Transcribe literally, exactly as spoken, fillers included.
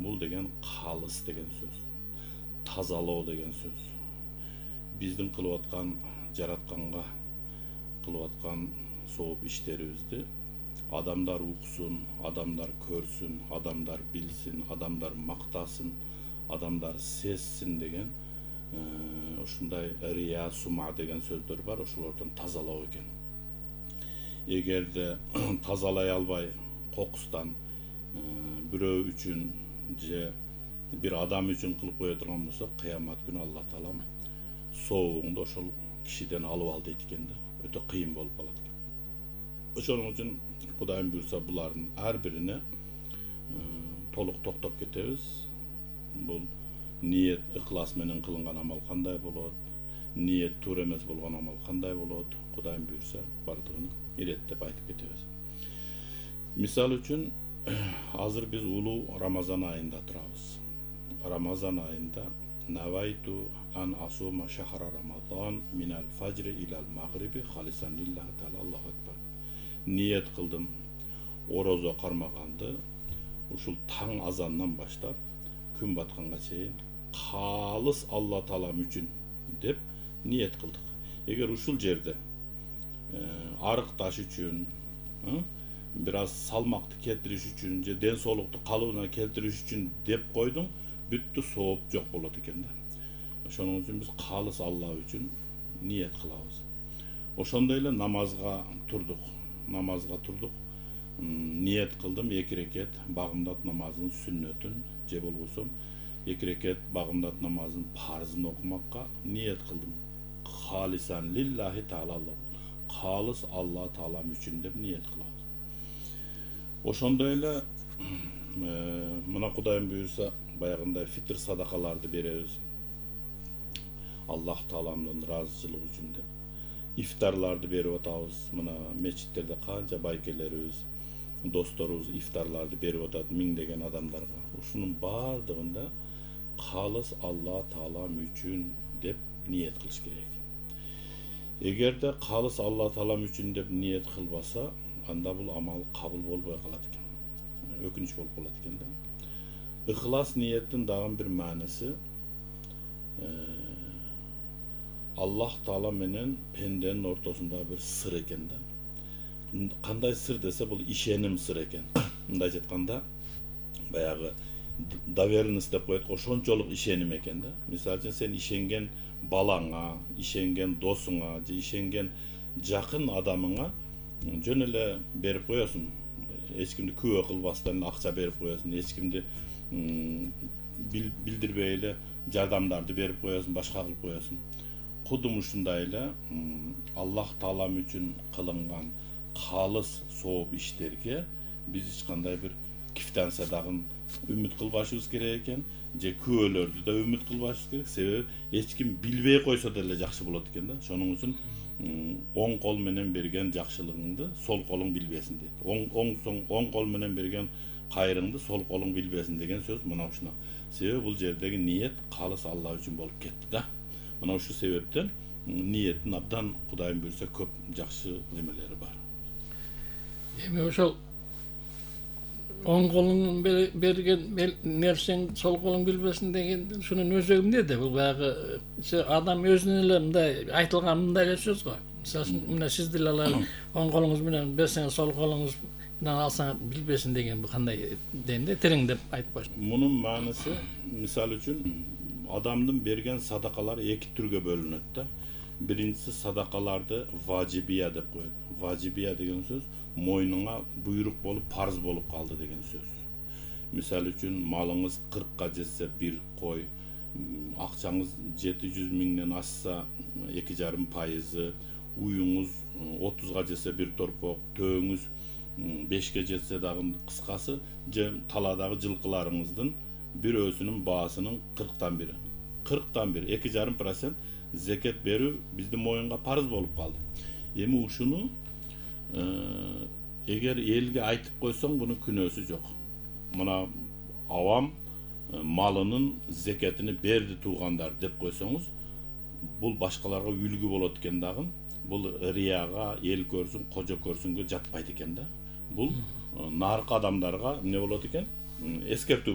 Бул деген калыс деген сөз. Тазалоо деген сөз. Биздин кылып аткан, жаратканга кылып аткан сооп иштерибизди адамдар уксун, адамдар көрсүн, адамдар билсин, адамдар мактасын, адамдар сезсин деген ушундай рия сума деген сөздөр бар, ошолордон тазалоо экен. Эгерде тазалай албай кокустан бирөө үчүн же бир адам үчүн кылып кое турган болсо, кыямат күнү Алла таалам сообуңду ошол кишиден алып ал дейт экен да. Өтө кыйын болуп калат экен. Ошоның үчүн Кудайым буйрса булардын ар бирине толук токтоп кетебиз. Бул ниет, ыклас менен кылынган амал кандай болот, ниет туура эмес болгон амал кандай болот, Кудайым буйрса бардыгын иреттеп айтып кетебиз. Мисал үчүн азыр биз улуу Рамазан айында турабыз. Рамазан айында навайту ан асума шахра рамадан минал фажри илал магриби халисан лиллахи таала Аллаху акбар. Ниет кылдым орозо кармаганды ушул таң азандан баштап күн батканга чейин калыс Алла таалам үчүн деп ниет кылдык. Эгер ушул жерде арык таш үчүн, бир аз салмакты келтириш үчүн же ден соолукту калыбына келтириш үчүн деп койдуң, бүттү, сооп жок болот экен да. Ошоның үчүн биз калыс Алла үчүн ниет кылабыз. Ошондой эле намазга турдук. Намазга турдук. Ниет кылдым эки рекет багымдат намазынын сүннөтүн же болбосо эки рекет багымдат намазынын парзын окумакка ниет кылдым. Халисан лиллахи таала, калыс Алла таалам үчүн деп ниет кылабыз. Ошондой эле мына Кудайым буйрса баягындай фитр садакаларды беребиз. Аллах тааламдын ыраазычылыгы үчүн деп. Ифтарларды берип атабыз. Мына мечиттерде канча байкелерибиз, досторубуз ифтарларды берип атат миңдеген адамдарга. Ушунун бардыгында калыс Алла таалам үчүн деп ниет кылыш керек. Эгерде калыс Алла таалам үчүн деп ниет кылбаса, анда бул амал кабыл болбой калат экен. Өкүнүч болуп калат экен да. Ыхлас ниеттин дагы бир мааниси Аллах таала менен пенденин ортосунда бир сыр экен да. Кандай сыр десе, бул ишеним сыр экен. Мындайча айтканда, баягы доверенность деп коет, ошончолук ишеним экен да. Мисалы үчүн сен ишенген балаңа, ишенген досуңа же ишенген жакын адамыңа жөн эле берип коесуң. Эч кимди күбө кылбастан акча берип коесуң, эч кимди билдирбей эле жардамдарды берип коесуң, башка кылып коесуң. Кудум ушундай эле Аллах таалам үчүн кылынган калыс сооп иштерге биз эч кандай бир кифтан садагын үмүт кылбашыбыз керек экен, же күбөлөрдү да үмүт кылбашыбыз керек. Себеби эч ким билбей койсо деле жакшы болот экен да. Ошонун үчүн оң кол менен берген жакшылыгыңды сол колуң билбесин дейт. Оң оң оң кол менен берген кайрыңды сол колуң билбесин деген сөз мына ушуна. Себеби бул жердеги ниет калыс Алла үчүн болуп кетти да. Мына ушул себептен ниеттин абдан Кудайым буйрса көп жакшы немелери бар. Эми ошол оң колуң берген нерсең сол колуң билбесин деген ушунун өзөгү эмнеде? Бул баягы адам өзүнөн эле мындай айтылган мындай эле сөз го. Мисалы үчүн мына сиз деле алар оң колуңуз менен берсеңиз сол колуңуз менен алсаңыз билбесин деген бул кандай дейм да, тереңдеп айтып коюш. Мунун мааниси мисалы үчүн адамдын берген садакалары эки түргө бөлүнөт да. Биринчиси садакаларды важибия деп коет. Важибия деген сөз мойнуңа буйрук болуп, парз болуп калды деген сөз. Мисалы үчүн малыңыз кыркка жетсе бир кой, акчаңыз жети жүз миңден ашса эки жарым пайызы, уюңуз отузга жетсе бир торпок, төөңүз бешке жетсе дагы кыскасы, же таладагы жылкыларыңыздын бирөөсүнүн баасынын кырктан бири. кырктан бир, эки жарым процент зекет берүү биздин моюнга парыз болуп калды. Эми ушуну эгер элге айтып койсоң, бунун күнөөсү жок. Мына авам малынын зекетини берди туугандар деп койсоңуз, бул башкаларга үлгү болот экен дагы. Бул рияга, эл көрсүн, кожо көрсүнгө жатпайт экен да. Бул наркы адамдарга эмне болот экен? Эскертүү